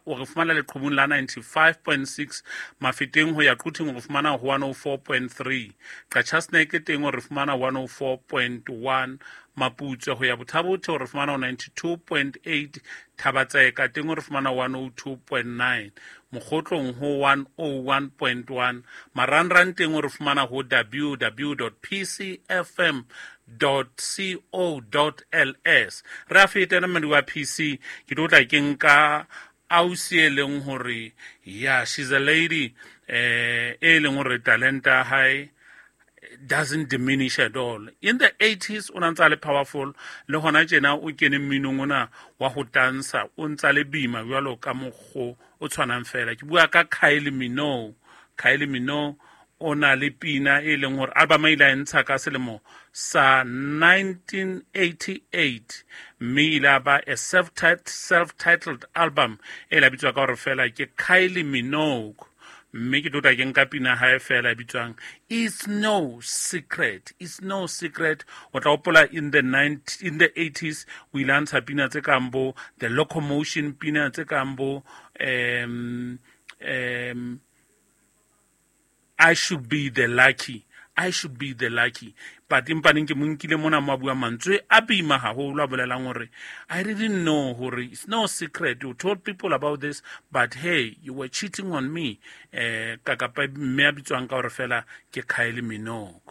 O re fumana leqhubung la 95.6, Mafeteng ho ya Quthing o re fumana ho 104.3, Qacha's Nek teng o re fumana 104.1, Maputswe ho ya Bothabothe o re fumana ho 92.8, Thabatseka teng o re fumana 102.9, Mokgotlong ho 101.1, Marangrang teng o re fumana ho www.pcfm co ls. Re a feta ena mmadi wa PC, ke tlo tla ke nka ausi e leng hore, yeah, she's a lady e leng hore talenta hae doesn't diminish at all. In the 80s o na ntse a le powerful, le hona tjena o kene mminong ona wa ho tansa, o ntsa le bima jwalo ka mokgo o tshwanang fela. Ke bua ka Kylie Minogue. Kylie Minogue o na le pina e leng hore album e ile a ntsha ka selemo sa 1988, mme ile a ba a self-titled album e la bitswa ka hore fela ke Kylie Minogue. Mme ke tlo tla ke nka pina hae fela e bitswang It's No Secret. It's No Secret. O tla hopola in the 80s o ile a ntsha pina tse kang bo The Locomotion, pina tse kang bo I Should Be the Lucky, I Should Be the Lucky. But empaneng ke mo nkile mona mo a bua mantswe a boima haholo, a bolelang hore I didn't know hore it's no secret you told people about this, but hey, you were cheating on me. Ka kapa mme a bitswang ka hore fela ke Kylie Minogue.